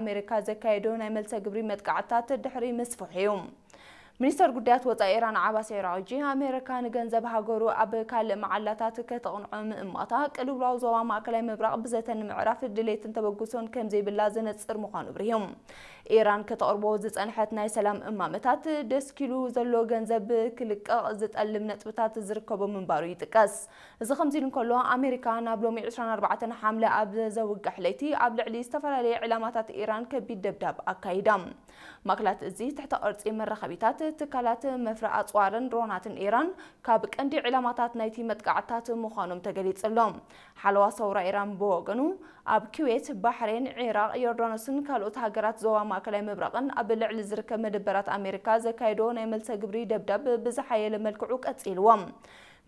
ኣሜሪካ ዘካየዶ ናይ መልሰ ግብሪ መጥቃዕትታት ድሕሪ ምስፍሑ እዩ። ሚኒስተር ጉዳያት ወጻኢ ኢራን ዓባስ ዒራቕጂ፣ ኣሜሪካ ንገንዘብ ሃገሩ ኣብ ካልእ መዓላታት ከተቕንዖ ምእማታ፣ ቅልውላው ዞባ ማእከላይ ምብራቕ ብዘተ ንምዕራፍ ድሌትን ተበግሶን ከም ዘይብላ ዘነጽር ምዃኑ ኣብሪሁ። ኢራን ከተቕርቦ ዝጸንሐት ናይ ሰላም እማመታት፣ ደስኪሉ ዘሎ ገንዘብ ክልቀቕ ዝጠልም ነጥብታት ዝርከቦ ምንባሩ ይጥቀስ። እዚ ከምዚ ኢሉ እንከሎ፣ ኣሜሪካ ናብ ሎሚ ዕስራን ኣርባዕተን ሓምለ ኣብ ዘውግሕ ለይቲ ኣብ ልዕሊ ዝተፈላለየ ዕላማታት ኢራን ከቢድ ደብዳብ ኣካይዳ። ማእከላት እዚ ትሕተ ቅርጺ መራኸቢታት፣ ትካላት መፍረ ኣጽዋርን ድሮናትን ኢራን ካብ ቀንዲ ዕላማታት ናይቲ መጥቃዕትታት ምዃኖም ተገሊጹ ኣሎ። ሓለዋ ሰውራ ኢራን ብወገኑ፣ ኣብ ኩዌት፣ ባሕሬን፣ ዒራቕ፣ ዮርዳኖስን ካልኦት ሃገራት ዞባ ማእከላይ ምብራቕን ኣብ ልዕሊ ዝርከብ መደበራት ኣሜሪካ ዘካየዶ ናይ መልሰ ግብሪ ደብዳብ ብዝሓየለ መልክዑ ቀጺልዎ።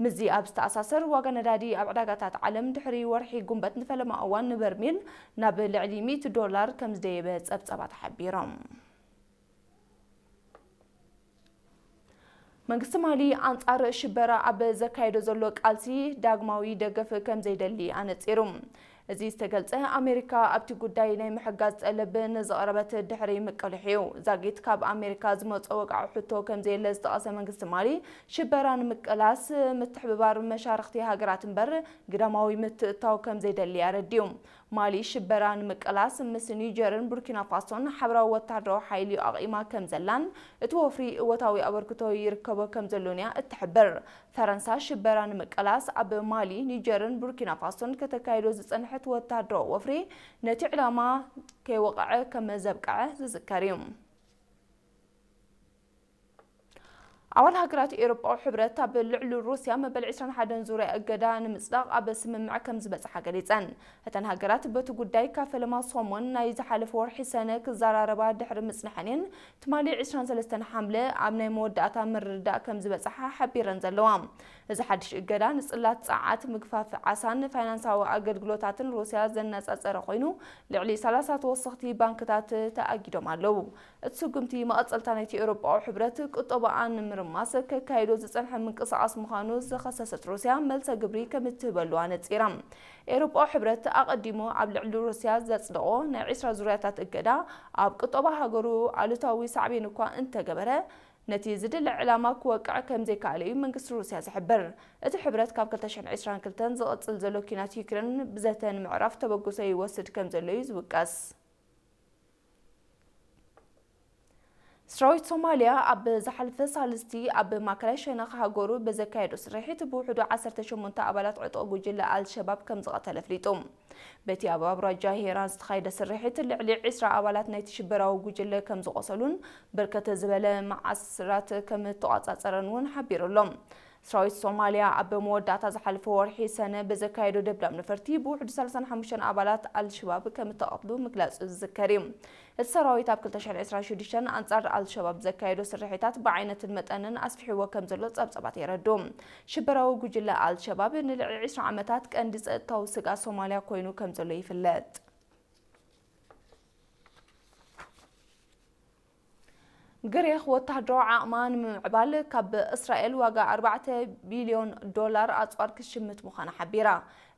ምስዚ ኣብ ዝተኣሳሰር፣ ዋጋ ነዳዲ ኣብ ዕዳጋታት ዓለም ድሕሪ ወርሒ ጉንበት ንፈለማ እዋን ንበርሚል ናብ ልዕሊ ሚእቲ ዶላር ከም ዝደየበ ጸብጸባት ሓቢሮም። መንግስቲ ማሊ ኣንጻር ሽበራ ኣብ ዘካየዶ ዘሎ ቃልሲ ዳግማዊ ደገፍ ከም ዘይደሊ ኣነጺሩ። እዚ ዝተገልጸ፣ ኣሜሪካ ኣብቲ ጉዳይ ናይ ምሕጋዝ ጠለብ ንዘቕረበት ድሕሪ ምቅልሕ እዩ። ዛጊት ካብ ኣሜሪካ ዝመጾ ወግዓዊ ሕቶ ከም ዘየለ ዝጠቐሰ መንግስቲ ማሊ፣ ሽበራ ንምቅላስ ምትሕብባር መሻርኽቲ ሃገራት እምበር ግዳማዊ ምትእትታው ከም ዘይደሊ ኣረዲኡ። ማሊ ሽበራ ንምቅላስ ምስ ኒጀርን ቡርኪና ፋሶን ሓበራዊ ወታደራዊ ሓይሊ ኣቕይማ ከም ዘላን እቲ ወፍሪ እወታዊ ኣበርክቶ ይርከቦ ከም ዘሎን እያ እትሕብር። ፈረንሳ ሽበራ ንምቅላስ ኣብ ማሊ፣ ኒጀርን ቡርኪና ፋሶን ከተካይዶ ዝጸንሐት ወታደራዊ ወፍሪ ነቲ ዕላማ ከይወቕዐ ከም ዘብቅዐ ዝዝከር እዩ። ኣባል ሃገራት ኤውሮጳዊ ሕብረት ኣብ ልዕሊ ሩስያ መበል ዕስራን ሓደን ዙርያ እገዳ ንምጽዳቕ ኣብ ስምምዕ ከም ዝበጽሓ ገሊጸን። እተን ሃገራት በቲ ጉዳይ ካብ ፈለማ ሰሙን ናይ ዝሓለፈ ወርሒ ሰነ ክዘራረባ ድሕሪ ምጽንሐን እየን ትማሊ ዕስራን ሰለስተን ሓምለ ኣብ ናይ መወዳእታ ምርድዳእ ከም ዝበጽሓ ሓቢረን ዘለዋ። እዚ ሓድሽ እገዳ ንጽላት ጸዓት፣ ምግፋፍ ዓሳን ፋይናንሳዊ ኣገልግሎታትን ሩስያ ዘነጻጸረ ኮይኑ፣ ልዕሊ ሰላሳ ተወሰኽቲ ባንክታት ተኣጊዶም ኣለዉ። እቲ ስጉምቲ መቐጸልታ ናይቲ ኤውሮጳዊ ሕብረት ቁጠባኣን ንምርማስ ከካይዶ ዝጸንሐ ምንቅስቓስ ምዃኑ ዝኸሰሰት ሩስያ፣ መልሰ ግብሪ ከም እትህበሉ ኣነጺራ። ኤውሮጳዊ ሕብረት ኣቐዲሙ ኣብ ልዕሊ ሩስያ ዘጽደቖ ናይ ዕስራ ዙርያታት እገዳ፣ ኣብ ቁጠባ ሃገሩ ኣሉታዊ ሳዕቤን እኳ እንተገበረ፣ ነቲ ዝድለ ዕላማ ክወቅዕ ከም ዘይከኣለ እዩ መንግስቲ ሩስያ ዝሕብር። እቲ ሕብረት ካብ ክልተ ሽሕን ዕስራን ክልተን ዝቕጽል ዘሎ ኲናት ዩክሬን ብዘተ ንምዕራፍ ተበግሶ ይወስድ ከም ዘሎ እዩ ዝውቀስ። ሰራዊት ሶማልያ ኣብ ዝሓለፈ ሳልስቲ ኣብ ማእከላይ ሸነኽ ሃገሩ ብዘካየዶ ስርሒት ብውሕዱ ዓሰርተ ሸሞንተ ኣባላት ዕጡቕ ጉጅለ ኣልሸባብ ከም ዝቐተለ ኣፍሊጡ። በቲ ኣብ ኣውራጃ ሄራን ዝተኻየደ ስርሒት ልዕሊ ዕስራ ኣባላት ናይቲ ሽበራዊ ጉጅለ ከም ዝቖሰሉን ብርከት ዝበለ መዓስራት ከም እተቖጻጸረን እውን ሓቢሩ ኣሎ። ሰራዊት ሶማልያ ኣብ መወዳእታ ዝሓለፈ ወርሒ ሰነ ብዘካየዶ ደብዳብ ነፈርቲ ብውሕዱ ሰላሳን ሓሙሽተን ኣባላት ኣልሸባብ ከም እተቐትሉ ምግላጹ ዝዝከር እዩ። እቲ ሰራዊት ኣብ ክልተ ሽሕን ዕስራን ሽዱሽተን ኣንጻር ኣልሸባብ ዘካየዶ ስርሒታት ብዓይነትን መጠንን ኣስፊሕዎ ከም ዘሎ ጸብጻባት የረድኡ። ሽበራዊ ጉጅለ ኣልሸባብ ንልዕሊ ዕስራ ዓመታት ቀንዲ ጸጥታዊ ስግኣት ሶማልያ ኮይኑ ከም ዘሎ ይፍለጥ። ግሪኽ ወተሃደራዊ ዓቕማ ንምምዕባል ካብ እስራኤል ዋጋ ኣርባዕተ ቢልዮን ዶላር ኣጽዋር ክትሽምት ምዃና ሓቢራ።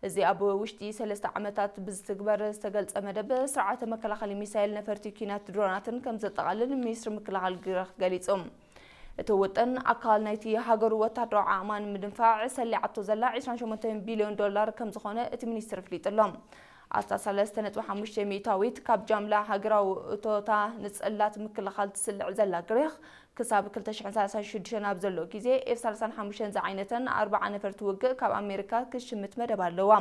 እዚ ኣብ ውሽጢ ሰለስተ ዓመታት ብዝትግበር ዝተገልጸ መደብ ስርዓተ መከላኸሊ ሚሳይል፣ ነፈርቲ ኲናት፣ ድሮናትን ከም ዘጠቓልል ሚኒስትሪ ምክልኻል ግሪኽ ገሊጹ። እቲ ውጥን ኣካል ናይቲ ሃገሩ ወተሃደራዊ ዓቕማ ንምድንፋዕ ሰሊዓቶ ዘላ ዕስራን ሸሞንተን ቢልዮን ዶላር ከም ዝኾነ እቲ ሚኒስትሪ ኣፍሊጡ ኣሎ። ኣስታት ሰለስተ ነጥቢ ሓሙሽተ ሚእታዊት ካብ ጃምላ ሃገራዊ እቶታ ንጽላት ምክልኻል ትስልዕ ዘላ ግሪኽ፣ ክሳብ ክልተ ሽሕን ሰላሳን ሽዱሽተን ኣብ ዘሎ ግዜ ኤፍ ሰላሳን ሓሙሽተን ዝዓይነተን ኣርብዓ ነፈርቲ ውግእ ካብ ኣሜሪካ ክትሽምት መደብ ኣለዋ።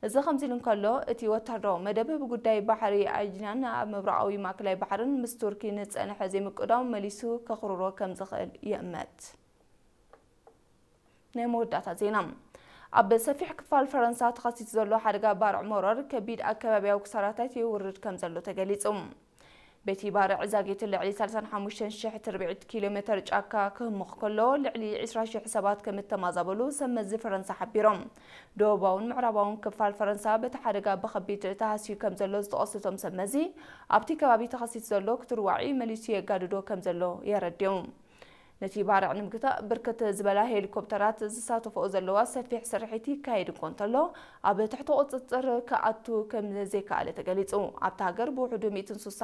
እዚ ከምዚ ኢሉ እንከሎ፣ እቲ ወተሃደራዊ መደብ ብጉዳይ ባሕሪ ኣጅናን ኣብ ምብራቓዊ ማእከላይ ባሕርን ምስ ቱርኪ ንጸንሐ ዘይምቅዳው መሊሱ ከኽርሮ ከም ዝኽእል ይእመት። ናይ መወዳእታ ዜና። ኣብ ሰፊሕ ክፋል ፈረንሳ ተኸሲቱ ዘሎ ሓደጋ ባርዕ መሮር ከቢድ ኣከባቢያዊ ክሳራታት የውርድ ከም ዘሎ ተገሊጹ። በቲ ባርዕ ዛጊት ልዕሊ ሰላሳን ሓሙሽተን ሽሕ ትርብዒት ኪሎ ሜተር ጫካ ክህምኽ ከሎ፣ ልዕሊ ዕስራ ሽሕ ሰባት ከም እተማዛበሉ ሰብ መዚ ፈረንሳ ሓቢሮም። ደቡባውን ምዕራባውን ክፋል ፈረንሳ በቲ ሓደጋ ብኸቢድ ተሃስዩ ከም ዘሎ ዝጠቐሱ እቶም ሰብ መዚ፣ ኣብቲ ከባቢ ተኸሲቱ ዘሎ ክትርዋዒ መሊሱ የጋድዶ ከም ዘሎ የረድኡ። ነቲ ባርዕ ንምግታእ ብርክት ዝበላ ሄሊኮፕተራት ዝሳተፈኦ ዘለዋ ሰፊሕ ስርሒት ይካየድ እኮ እንተሎ፣ ኣብ ትሕቲ ቁፅፅር ክኣቱ ከም ዘይከኣለ ተገሊፁ። ኣብታ ሃገር ብውሕዱ ሚእትን ሱሳን